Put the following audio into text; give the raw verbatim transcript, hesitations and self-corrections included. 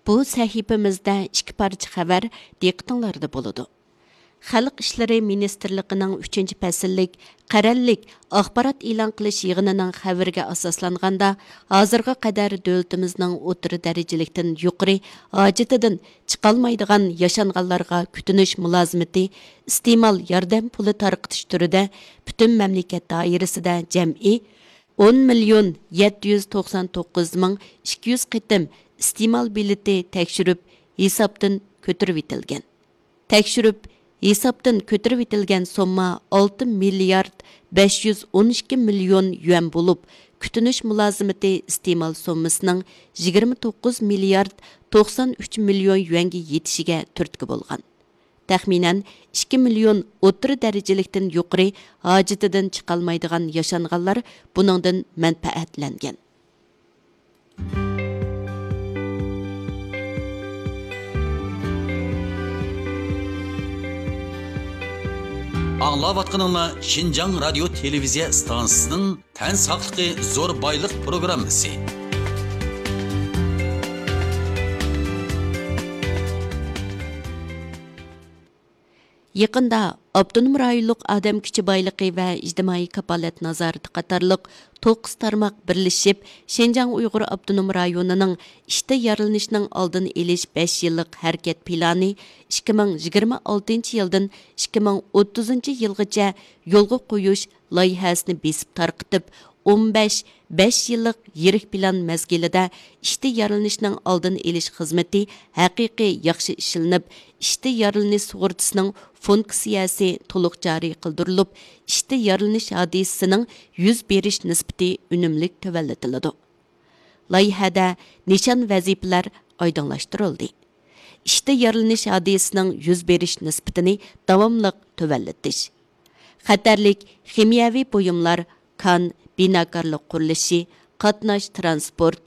بۇ سەھىپىمىزدە ئىككى پارچە خەۋەر دىققىتىڭلاردا بولىدۇ. خەلق ئىشلىرى مىنىستىرلىقىنىڭ ئۈچىنچى پەسىللىك قەرەللىك ئاخبارات ئېلان قىلىش يىغىنىنىڭ خەۋىرىگە ئاساسلانغاندا، ھازىرغا قەدەر دۆلىتىمىزنىڭ ئوتتۇرا دەرىجىلىكتىن يۇقىرى ھاجىتىدىن چىقالمايدىغان ياشانغانلارغا كۈتۈنۈش مۇلازىمىتى ئىستېمال ياردەم پۇلى تارقىتىش تۈرىدە پۈتۈن مەملىكەت دائىرىسىدە جەمئىي ئون مىليون يەتتە يۈز توقسان توققۇز مىڭ ئىككى يۈز قېتىم ئىستېمال بېلىتى تەكشۈرۈپ ھېسابتىن كۆتۈرۈۋېتىلگەن. تەكشۈرۈپ ھېسابتىن كۆتۈرۈۋېتىلگەن سومما ئالتە مىليارد بەش يۈز ئون ئىككى مىليون يۈەن بولۇپ، كۈتۈنۈش مۇلازىمىتى ئىستېمال سوممىسىنىڭ يىگىرمە توققۇز مىليارد توقسان ئۈچ مىليون يۈەنگە يېتىشىگە تۈرتكە بولغان. تەخمىنەن ئىككى مىليون ئوتتۇرا دەرىجىلىكتىن يۇقىرى ھاجىتىدىن چىقالمايدىغان ياشانغانلار بۇنىڭدىن مەنپەئەتلەنگەن. ئاڭلاۋاتقىنىڭلار شىنجاڭ رادىيو تېلېۋىزىيە ئىستانسىسىنىڭ تەن ساقلىقى زور بايلىق پروگراممىسى. يېقىندا ئاپتونوم رايونلۇق ئادەم كۈچى بايلىقى ۋە ئىجتىمائىي كاپالەت نازارىتى قاتارلىق توققۇز تارماق بىرلىشىپ، شىنجاڭ ئۇيغۇر ئاپتونوم رايونىنىڭ ئىشتا يارىلىنىشنىڭ ئالدىنى ئېلىش بەش يىللىق ھەرىكەت پىلانى ئىككى مىڭ يىگىرمە ئالتىنچى يىلدىن ئىككى مىڭ ئوتتۇزىنچى يىلغىچە يولغا قويۇش لايىھەسىنى بېسىپ تارقىتىپ، ئون بەش بەش يىللىق يىرىك پىلان مەزگىلىدە ئىشتا يارىلىنىشنىڭ ئالدىنى ئېلىش خىزمىتى ھەقىقىي ياخشى ئىشلىنىپ، ئىشتا يارىلىنىش سۇغۇرتىسىنىڭ فۇنكسىيەسى تولۇق جارى قىلدۇرۇلۇپ، ئىشتا يارىلىنىش ھادىسىسىنىڭ يۈز بېرىش نىسبىتى ئۈنۈملۈك تۆۋەنلىتىلىدۇ. لايىھەدە نىشان ۋەزىپىلەر ئايدىڭلاشتۇرۇلدى. ئىشتا يارىلىنىش ھادىسىسىنىڭ يۈز بېرىش نىسبىتىنى داۋاملىق تۆۋەنلىتىش، خەتەرلىك خىمىيەۋى بۇيۇملار، كان، بىناكارلىق قۇرۇلۇشى، قاتناش، تىرانسپورت،